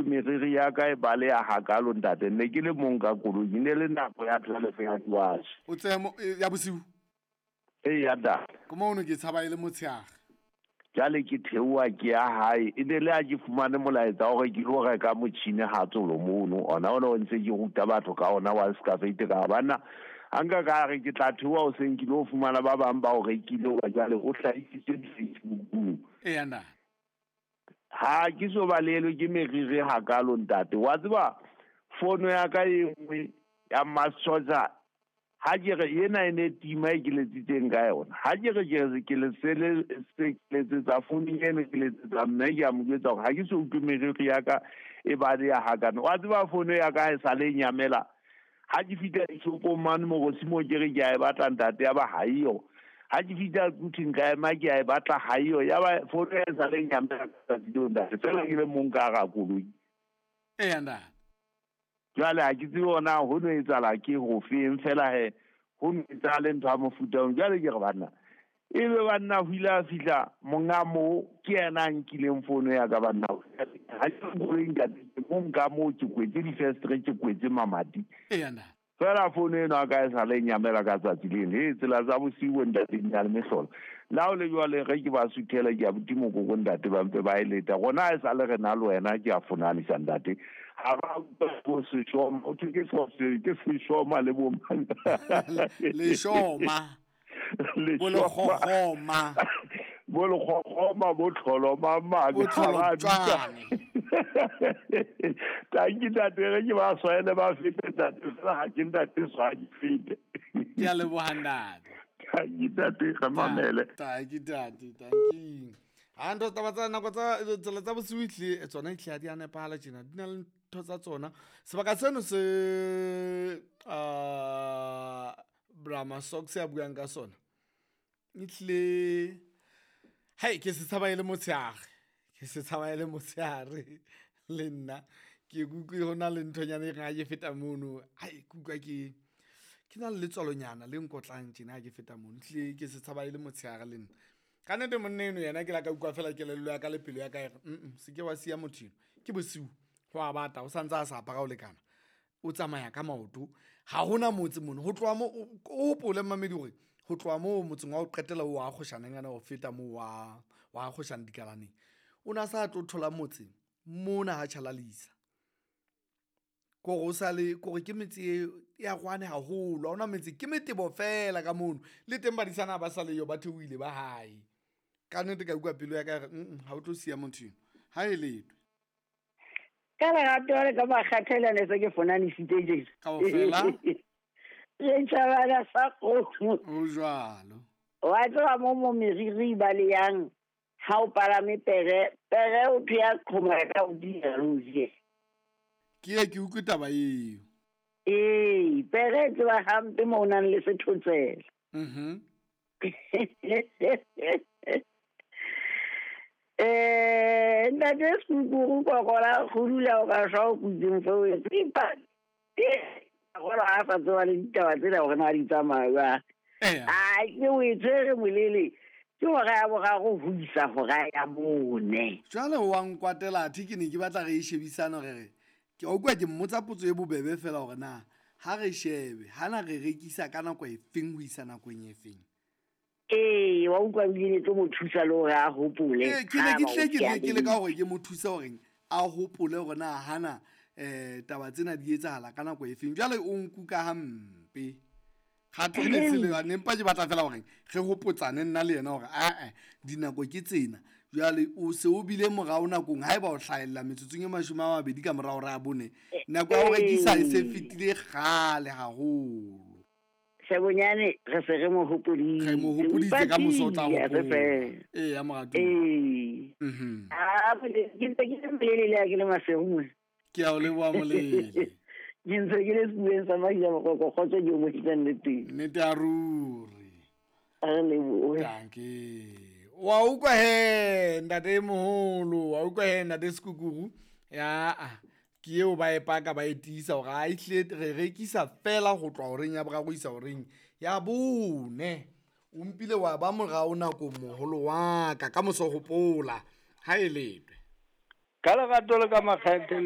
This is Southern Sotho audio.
meriri ya ka e baleha hakalo ntate. Ne ke le mong ka koloi, ne le nako ya 12 ya diwatjhe. O tseye ya bosiu? Ee, ya ntate. Ko mono ke tshaba e le motshehare. Jwale ke theoha ke ya hae, e ne le ha ke fumane molaetsa hore ke lo reka motjhini ha tsolo mono. Ona ona o ntse ke ruta batho ka ona wa Excavate ka banna. Ha nka ka re ke tla theoha hoseng ke lo fumana ba bang ba o rekile hoba jwale o hlahisitse di-Facebookong. Eya ntate. Ha ke so balelwe ke meriri hakalo ntate. Wa tseba fono ya ka e nngwe ya Massotja ha ke re ena e ne tima e ke letsitseng ka yona. Ha ke re ke re ke le sele se ke letsetsa founung eno ke letsetsa mme ke a mo jwetsa hore ha ke so utlwe meriri ya ka e baleha hakana. Wa tseba fono ya ka ha e sale e nyamela. Ha ke fihla dishopong mane Morosimo ke re ke a e batla ntate ya ba ha eyo. Ha ke fihla Quthing ka ema ke a e batla ha eyo. Ya ba fono ya e sale e nyamela ka tsatsi leo ntate. Feela ke le mong ka hara koloi. Eya ntate. Jwale ha ke tsebe hore na ho no etsahala ke ho feng fela he ho no etsahale ntho ya mofuta oo. Jwale ke re banna, ebe banna ho ile a fihla monga moo ke yena a nkileng fono ya ka banna. Ha ke koloi ntate, ke mong ka moo ke kwetse difestere, ke kwetse mamati. Eya ntate. Fela fono eno a ka e sale e nyamela ka tsatsi leno. He, tsela tsa bosiu bo ntate di na le mehlolo. Le ha o le jwale ge ke ba suthela ke a buti mokoko ntate ba mpe ba e leta. Rona ha e sale re na le wena ke a fonanisa ntate. Ha ba utlwa bo seshoma, ho thwe ke ke seshoma le bo mang. Leshoma. Bo lekgokgoma. Bo lekgokgoma, bo tlholoma mang. Bo tlholotjwane. Tanki ntate, re ke ba swele ba fete ntate, fela ha ke ntate swa ke fete. Ke a leboha ntate. Tanki ntate, re mamele. Tanki ntate, tanki. Ha ntho taba tsa nako tsa tsela tsa bosiu ehlile tsona ehlile ha di a nepahala tjena, di na le ntho tsa tsona. Sebaka seno se Brahma Socks ya buang ka sona. Ehlile hai ke se tshaba e le motshehare. Ke se tshaba e le motshehare le nna. Ke utlwe ho na le nthonyana e reng ha ke feta mono, hai ke utlwa ke na le letswalonyana le nkotlang tjena ha ke feta mono. Ehlile ke se tshaba e le motshehare le nna. Ka nnete monna eno yena ke la ka utlwa fela kelello ya ka le pelo ya ka e re, se ke wa siya motho eno. Ke bosiu, ho a bata, o santse a sa apara ho lekana. O tsamaya ka maoto. Ha hona motse mono. Ho tloha moo, o hopole mmamedi hore ho tloha moo motseng wa ho qetela o wa kgoshaneng ana ho feta moo wa kgoshana dikalaneng. O na sa tlo thola motse mona ha tjhalalisa. Kore o sale, kore ke metse e ya rwane haholo. Ha hona metse, ke metebo fela ka mono. Le teng badisana ba sa le yo, ba theohile ba hae. Ka nnete ka utlwa pelo ya ka e re, ha o tlo siya motho eno. Ha e letwe. Ka lerato le ka makgathela ne se ke fonanisitse tjena. Kaofela. Le tjhabana sa kgomo. Ho jwalo. Wa tseba mo meriri ba le yang ha o palame pere, pere o thwe ya qhoma ka hodimo ruri. Ke ye ke utlwe taba eo. Ee, pere e tseba hampe mo o nang le sethotsela. Ntate Sekukuru kokola go dula o ka shwa o kutseng feo e tsipa. Gola ha sa tseba le ditaba tsena hore na di tsamaya jwang. A ke o e tshwere molele. Ke hora ya boraro ho isa hora ya bone. Jwale wa nkwatela athe ke ne ke batla re e shebisane hore re ke a utlwa ke mmotsa potso e bobebe fela hore na ha re shebe hana re rekisa ka nako e feng ho isa nakong e feng. Ee, wa utlwa ebile ne tlo mo thusa le hore a hopole. Ee, ke ne ke tle ke ne ke leka hore ke mo thuse hore a hopole hore na hana taba tsena di etsahala ka nako e feng. Jwale o nkuka hampe. Kgathe ne se le yane, empa ke batla fela hore re hopotsane nna le yena hore ae dinako ke tsena. Jwale o se o bile morao nakong haeba o hlahella metsotsong e 20 ka morao re a bone. Nako ya ho rekisa e se fetile kgale haholo. Sebonyane re se re mo hopoditse. Re mo hopoditse ka moso o tla Mpatile, hopola. re fe. Ee, ya moratuwa. Ee. A, ke ntse ke le molele le ha ke le Maseru mona. Ke a o leboha molele. Ke ntse ke le sefubeng sa Maria Mokoko, kgotso ke o mo isang le teng. Nnete ya ruri. A re lebohe. Dankie. Wa utlwa he ntate e moholo, wa utlwa he ntate Sekukuru. Ya, ke eo ba e paka ba e tiisa hore ha ehlile re rekisa fela ho tloha horeng ya boraro ho isa horeng ya bone. O mpile wa ba morao nakong moholo wa ka, ka moso hopola ha e letwe. Ka lerato le ka makgethe.